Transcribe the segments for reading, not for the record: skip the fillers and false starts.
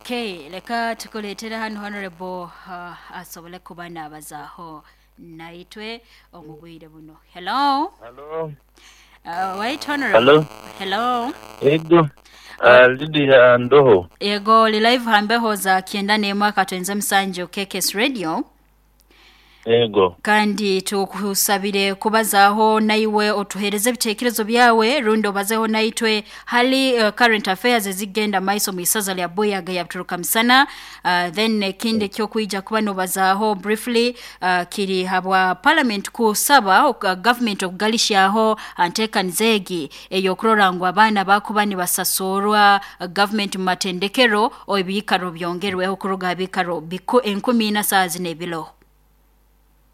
Okay, leka tukuleetera hanu Honorable asobole kuba naabazaaho naitwe omu bwire buno. Hello. Hello. Wait, Honorable. Hello. Hello. Ego. Lydia Ndoho. Yego, oli live hambeho za 91 akatwenze musanju KKS Radio. Ego. Kandi tukusabire kubazaaho naiwe, otuhereze ebitekerezo byawe rundi obazeho naitwe hali current affairs ezigenda maiso mu isaza lya Buyaga ya Buturuka Misana. Then ekindi ekyokwija kuba nobazaaho briefly kiri habwa parliament kusaba government okugalishaho nteekaniza egi ey'okurora ngu abaana bakuba nibasasurwa government mu matendekero, ebiikaro byongerweho kuruga ha biikaro 4,000 saaha zino ebiro.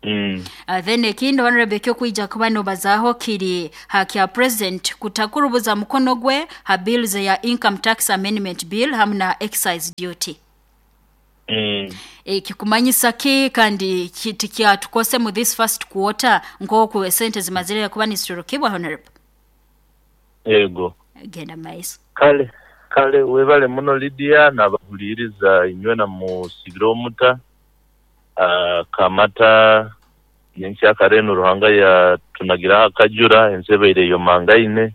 Then ekindi, Honorable, ekyokwija kuba nobazaaho kiri ha kya president kutakurubuza mukono gwe ha bills eya Income Tax Amendment Bill hamu na excise duty. Ekikumanyisa ki, kandi tikyatukose mu this first quarter nk'oku esente zimazire kuba niziturukibwa, Honorable? Ego. Genda maiso. Kale, kale webale muno Lydia n'abahuliiriza inywena musibire omuta. Kamata nyenkyakare enu Ruhanga yatunagiraho akajura, ensi ebaire eyomangaine,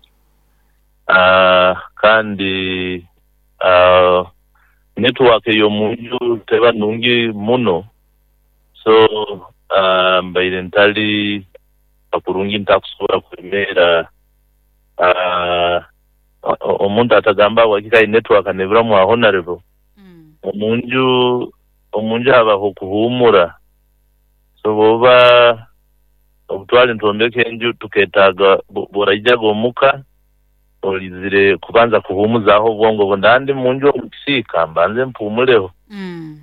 kandi network ey'omunju teba nungi muno, so mbaire ntali kurungi ntakusobora kwemeera. Omuntu atagamba wakika network neburamu a Honorable. Omunju habaho okuhuumura, so bwoba obutwali nitwombeka enju tuketaaga bworaijaga omuka oizire kubanza kuhuumuzaaho obwongo bwo, ndandi munju omu kisiika mbanze mpumuleho,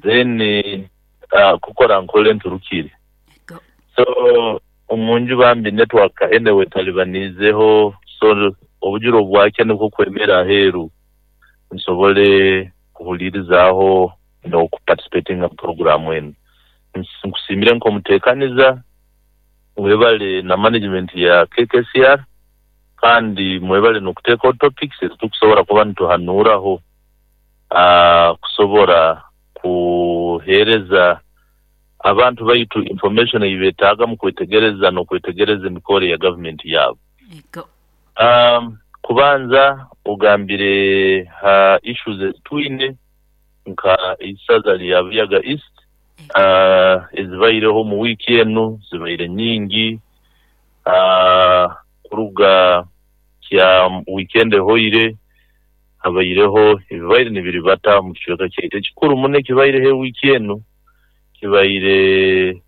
then kukora nkole nturukire. So omunju bambi network anyway etalibaniizeho, so obujura obwakya nikwo kwemera aheeru nsobole kuhuliirizaaho n'okuparticipatinga mu programu enu. Nkusiimire nk'omuteekaniza, webale na management ya KKCR, kandi mwebale n'okuteekaho topics ezitukusobora kuba nituhanuuraho kusobora kuheereza abantu baitu information ei beetaaga mu kwetegereza n'okwetegereza emikoro ya gavumenti yaabo. Kubanza ogambire ha issues ezitwine nka isaza lya Buyaga East ezibaireho omu wiiki enu zibaire nyingi, kuruga kya weekend ehoire habaireho ebibaire nibiribata omu kicweka kyaitu. Ekikuru muno ekibaireho ewiiki enu kibaire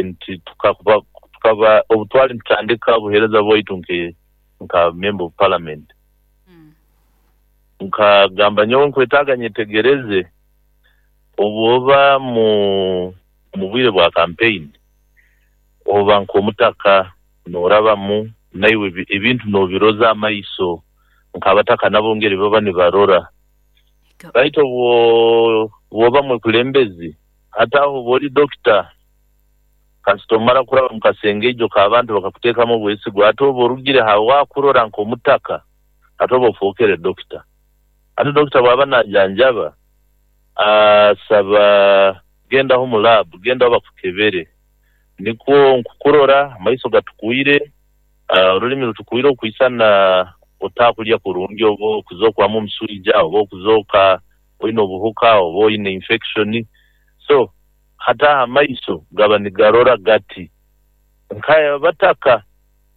nti tukaba obutwali nitutandika obuheereza bwaitu nka member of parliament, nkagamba nyowe nkwetaaga nyetegereze obwoba mu bwire bwa campaign oba nk'omutaka norabamu naiwe ebintu nobiroza amaiso nk'abataka nabo ngeri baba nibarora, baitu obwoba mwekulembezi hati aho oba ori dokita kasita omara kuraba mu kasengeijo k'abantu bakakuteekamu obwesigwa, ate oba orugire ha wakurora nk'omutaka ate oba ofookere dokita. Ate dokita bw'aba najanjaba asaba gendaho mu lab, gendaho bakukebere, nikwo nkukurora amaiso gatukwire, orulimi rutukwire okwisana otakulya kurungi oba okuzokwamu omuswija oba okuzooka oine obuhuka oba oine infection. So hati aho amaiso gaba nigarora gati nkaya bataka,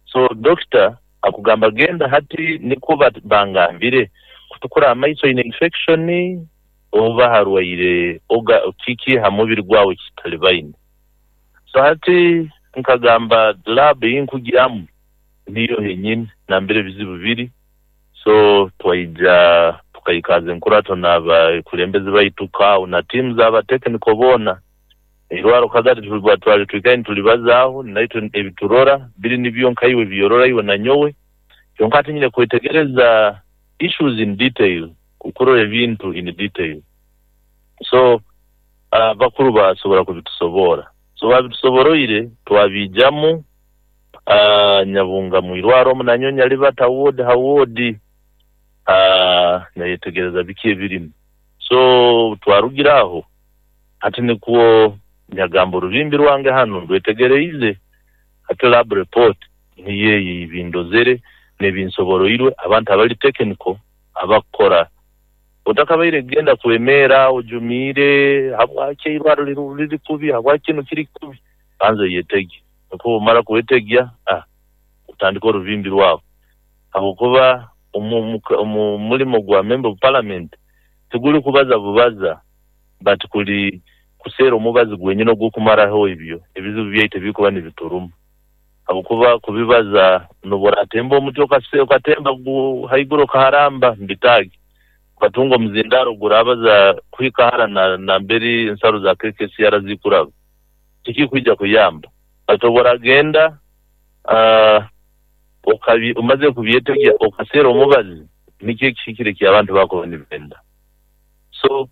so dokita akugamba genda hati nikwo bangambire kutukura amaiso oine infection oba harwaire oga kiki ha mubiri gwawe kitalibaine. So hati nkagamba lab eyinkugyamu niyo henyini nambere ebizibu biri, so twaija tukaikaaza enkurato n'abakulembeze baitu kaawo na tiimu z'aba technical boona eirwaro kagati twali twikaire nitulibazaaho naitwe ebiturora biri nibyo nkaiwe ebyorora iwe na nyowe, kyonka hati nyine kwetegereza issues in detail, kukurora ebintu in detail. So abakuru basobora kubitusobora, so babitusoboroire twabiijamu nyabunga mwirwaro omu nanyo nyalibata ward ha ward, nayetegereza biki ebirimu. So twarugire aho, hati nikwo nyagamba orubimbi rwange hanu ndwetegereize, hati lab report niyo eyo ebindozere n'ebinsoboroirwe abantu abali technical abakukora. Otakabaire kugenda kwemeera ojumiire habwaki eirwaro liri kubi, habwaki kinu kiri kubi, banza oyetegye. Nikwo obumara kwetegya, otandika orubimbi rwawe. Habwokuba omu mulimo gwa member of parliament tiguli kubaza bubaza, but kuli kuseera omubazi gwenyini ogw'okumaraho ebyo ebizibu byaitu ebirikuba nibituruma. Habwokuba kubibaza n'obu oratemba omuti okatemba haiguru okaharamba mubitaagi, okatunga omuzindaaro ogurabaza kuhika hara nambere ensaro za KKCR zikuraba, tikikwija kuyamba. But obu oragenda omaze kubyetegya okaseera omubazi, nikyo ekihikire eki abantu bakuba nibenda. So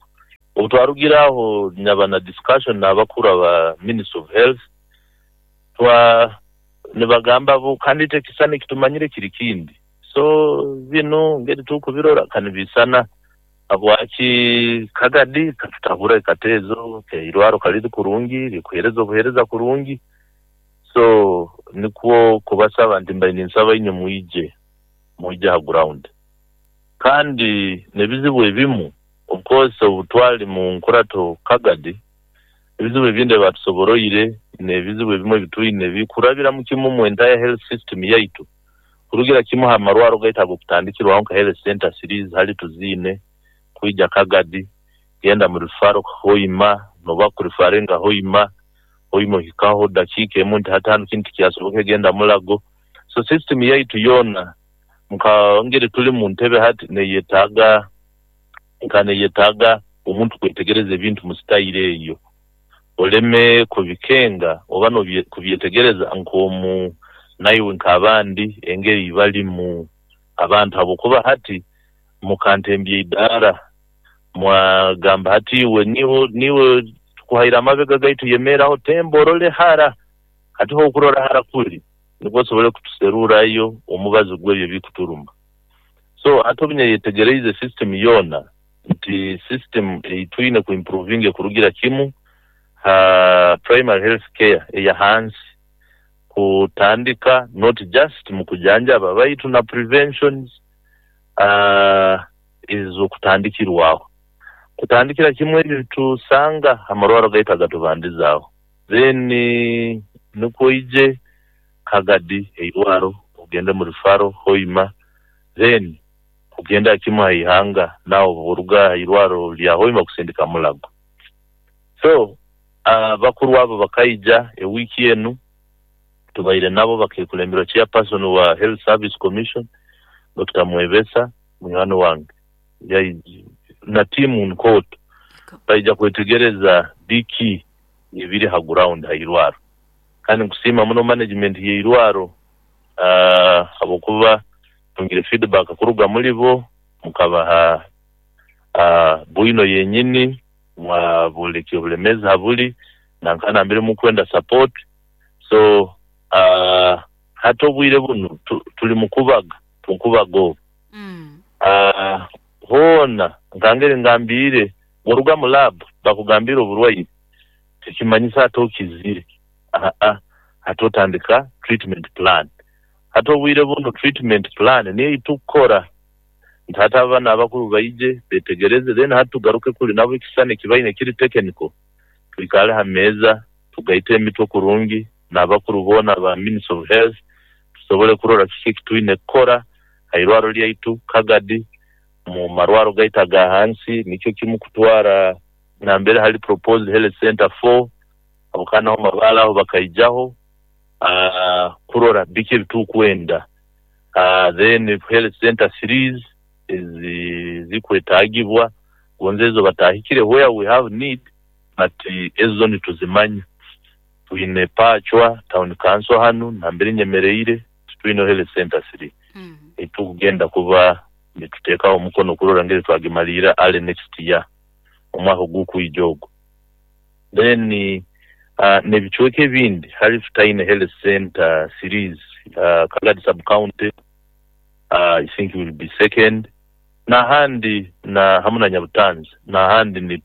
obu twarugire aho nyaba na discussion n'abakuru aba Ministry of Health, twa nibagamba bo kandi itwe ekisisani ekitumanyire kiri kindi. So binu ngeri tukubirora kanibisana habwaki Kagadi katutabura ekateezo keirwaro kariri kurungi, rikuhereza obuhereza kurungi. So nikwo kubasaba nti mbaire ninsaba inywe mwije, mwije ha ground. Kandi n'ebizibu ebimu, of course obu twali mu nkurato Kagadi, ebizibu ebindi ebatusoboroire n'ebizibu ebimu ebitwine bikurabira kimu mu entire health system yaitu. Kurugira kimu ha marwaro gaitu ag'okutandikirwaho nka health center series hali tuziine, kwija Kagadi, genda mu referral Hoima, noba kurifaringa Hoima, Hoima ohikaho dakiika emu nti hati hanu kinu tikyasoboka genda Mulago. So system yaitu yoona nka ngeri tuli mu ntebe hati neyetaaga nka neyetaaga omuntu kwetegereza ebintu mu style eyo. Oleme kubikenga oba kubyetegereza nk'omu naiwe nk'abandi engeri balimu abantu habwokuba hati mukantembya idaara mwagamba hati iwe niwe tukuhaire amabega gaitu yemeeraho temba orole hara. Hati hokurora hara kuri nikwo osobole kutuserurayo omubazi gw'ebyo ebikuturuma. So hati obu nyeyetegereize system yoona nti system eitwine kuimprovinga ekurugira kimu ha primary health care eya hansi kutandika not just mu kujanjaba baitu na preventions ez'okutandikirwaho. Kutandikira kimu ebyo tusanga amarwaro gaitu agatubandizaaho. Then nikwo oije Kagadi eirwaro ogende mu referral Hoima, then kugenda kimu ha ihanga nawe oruga ha irwaro lya Hoima kusindika Mulago. So abakuru abo bakaija ewiiki enu tubaire nabo bakekulemberwa chairperson wa Health Service Commission Dr. Mwebesa munywani wange na tiimu nkooto baija kwetegereza biki ebiri ha ground ha irwaro. Kandi nkusiima muno management y'eirwaro habwokuba tungire feedback kuruga muri bo mukabaha bwino yenyini mwabolekya obulemezi habuli nanka nambere mukwenda support. So hati obwire bunu tuli mukubaga, tukubaga obu. Hoona nkangeri ngambiire bw'oruga mu lab bakugambire oburwaire tikimanyisa hati okizire. Hati otandika treatment plan. Hati obwire bunu treatment plan niyo eitukukora nti hati abaana abakuru baije betegereze then hati tugaruke kuri nabo ekisisani ekibaine ekiri technical twikare ha meeza tugaite emitwe kurungi n'abakuru boona aba Ministry of Health tusobole kurora kiki ekitwine kukora ha irwaro lyaitu Kagadi mu marwaro gaitu aga hansi nikyo kimu kutwara nambere hali proposed health center 4 habwokuba naho Mabaale aho bakaijaho kurora biki ebitukwenda. Then health center series ezikwetagibwa gonza ezo batahikire where we have need but ezo nituzimanya. Twine Pachwa town council hanu nambere nyemereire titwine health center 3 etukugenda kuba nituteekaho omukono kurora ngeri twagimalira early next year omwaka ogukwija ogwo. Then n'ebicweka ebindi hali tutaine health center series Kagadi sub county I think will be second. N'ahandi na hamu na Nyabutanzi n'ahandi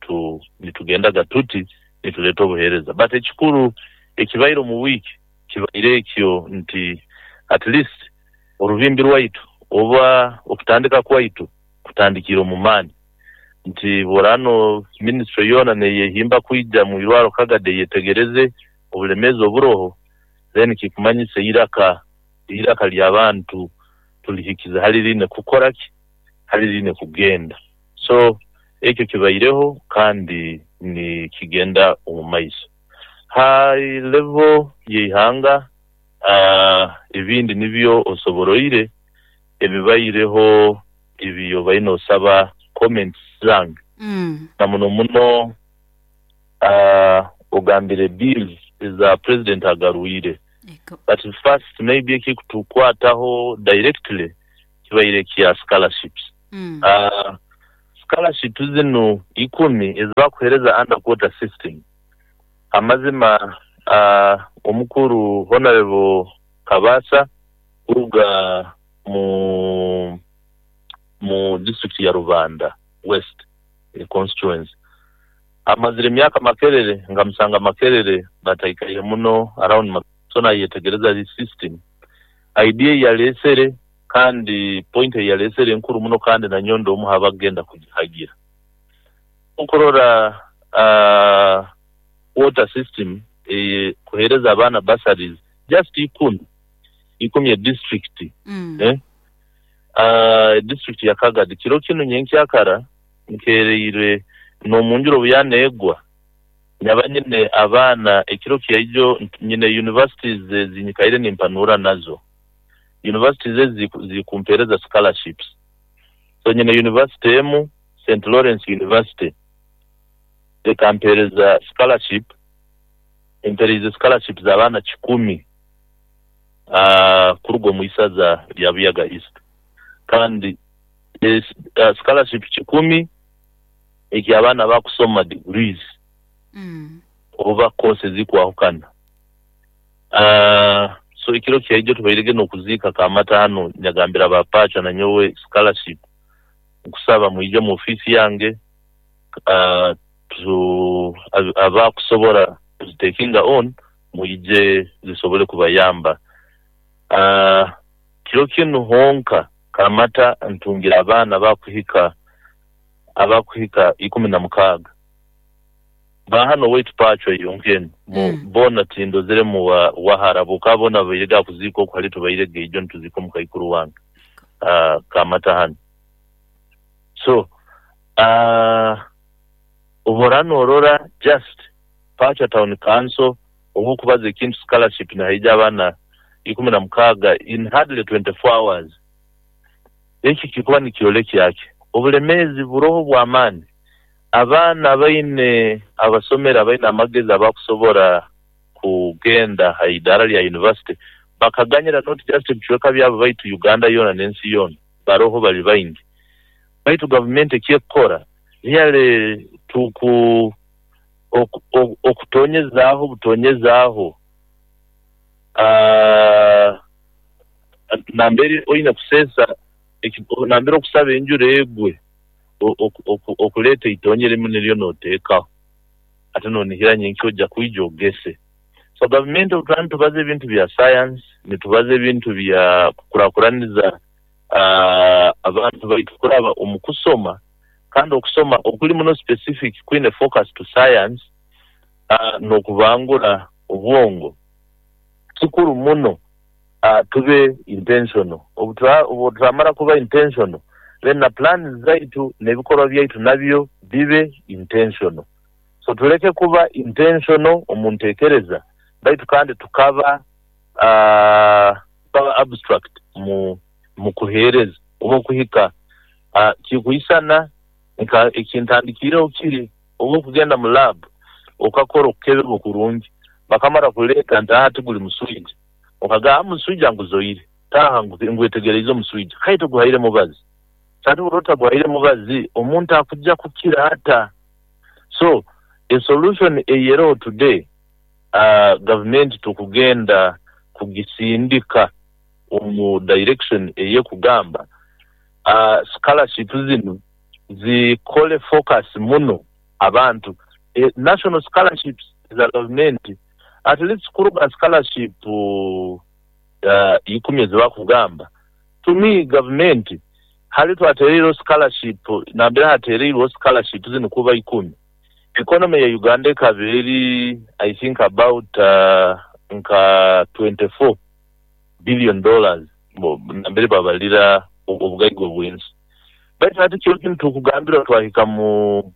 nitugendaga tuti nituleeta obuheereza, but ekikuru ekibaire omu wiiki kibaire ekyo nti at least orubimbi rwaitu oba okutandika kwaitu kutandikiire omu maani, nti bw'oraaba minisitule yoona neyehimba kwija mu irwaro Kagadi eyetegereze obulemeezi oburoho, then kikumanyisa eiraka ly'abantu tulihikize hali riine kukora ki, hali riine kugenda. So ekyo kibaireho kandi nikigenda omu maiso. High level y'eihanga, ebindi nibyo osoboroire ebibaireho ebi obaire noosaba comments zange. Na muno muno ogambire bills eza president agarwire. But first maybe ekikutukwataho directly kibaire kya scholarships. Scholarships zinu 10 ezibakuhereza under quota system, amazima omukuru Honorable Kabasa kuruga mu district ya Rubanda West constituency amazire emyaka Makerere, nkamusanga Makerere bataikaire muno around, so nayetegereza this system idea yalesere kandi point eyalesere enkuru muno, kandi nanyowe ndi omu abagenda kugihagira. Okurora quota system kuhereza abaana bursaries just 10 district. District ya Kagadi kiro kinu nyenkyakara nkereire n'omunjura obu yaneegwa nyaba nyine abaana ekiro kyaijo nyine universities ezinyikaire nimpanura nazo, universities ezi zikumpereza scholarships. So nyine university emu, St Lawrence University, ekampereza scholarship, empereize scholarship z'abaana 100 kuruga omu isaza lya Buyaga East, kandi scholarship 100 eky'abaana bakusoma degrees oba courses zikwahukana. So ekiro kyaijo tubairege n'okuziika Kamata hanu, nyagambira ba Pacha nanyowe scholarship nkusaba mwije mu ofiisi yange, abakusobora kuzitakinga on mwije zisobole kubayamba. Kiro kinu honka Kamata ntungira abaana abakuhika 16 bahano waitu Pacho yonkeni bona tindozere mu wahara boka bona bairega kuziika oku hali tubairege ijo ntuzika omukaikuru wange Kamata hano. So obora norora just Pacho Town Council obukubaza ekintu scholarship naija abaana 16 in hardly 24 hours. Eki kikuba nikyoleka ki obulemezi buroho bw'amaani, abaana baine abasomera baine amagezi abakusobora kugenda ha idara lya university bakaganyira not just ebicweka byabo baitu Uganda yoona n'ensi yoona baroho bali baingi, baitu gavumenti ekyekukora yale tuku okutonyezaaho butonyezaaho nambere oine kuseesa nambere okusaba enjura egwe okuleeta itonye rimu niryo noteekaho ate nonihira nyenkya ojja kwija ogese. So gavumenti obu nitubaza ebintu bya science, nitubaza ebintu bya kukurakuraniza abantu baitu kuraba omu kusoma, kandi okusoma okuli muno specific kwine focus to science n'okubangura obwongo kikuru muno. Tube intentional, obu turamara kuba intentional then na plans zaitu n'ebikorwa byaitu nabyo bibe intentional. So tuleke kuba intentional omu ntekereza baitu kandi tukaba abstract mu kuheereza oba okuhika kikuisana ekintandikiireho kiri oba okugenda mu lab okakora okukeberwa kurungi bakamara kuleeta nti aha tiguli muswija, okagamba muswija nguzoire taha ngwetegereize omuswija kai toguhaire mubazi sati buri otaguhaire mubazi omuntu akujja kukira ata. So a solution eyeroho today, gavumenti tukugenda kugisindika omu direction eyekugamba. Scholarship zinu zikole focus muno abantu, national scholarships za gavumenti, at least kuruga scholarship 10 ezibakugamba. To me, gavumenti hali twatereireho scholarship, nambere hatereirweho scholarship zinu kuba 10, economy ya Uganda ekaba eri, I think, about nka $24 billion, nambere babalira obugaiga obw'ensi. Baitu hati kiro kinu tukugambira twahika mu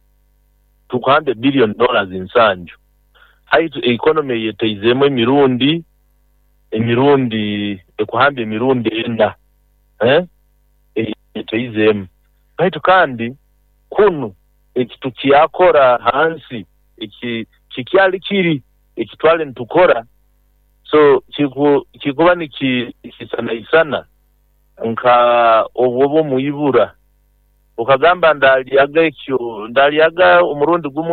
tukuhamba billion dollars 70. Haitu economy yeteizeemu emirundi ekuhamba emirundi ena, eh? Yeteizeemu. Baitu kandi kunu eki tukyakora hansi, eki kikyali kiri eki twali nitukora, so kikuba nikisanaisana nka obwo omwibura okagamba ndalyaga ekyo, ndalyaga omurundi gumwe.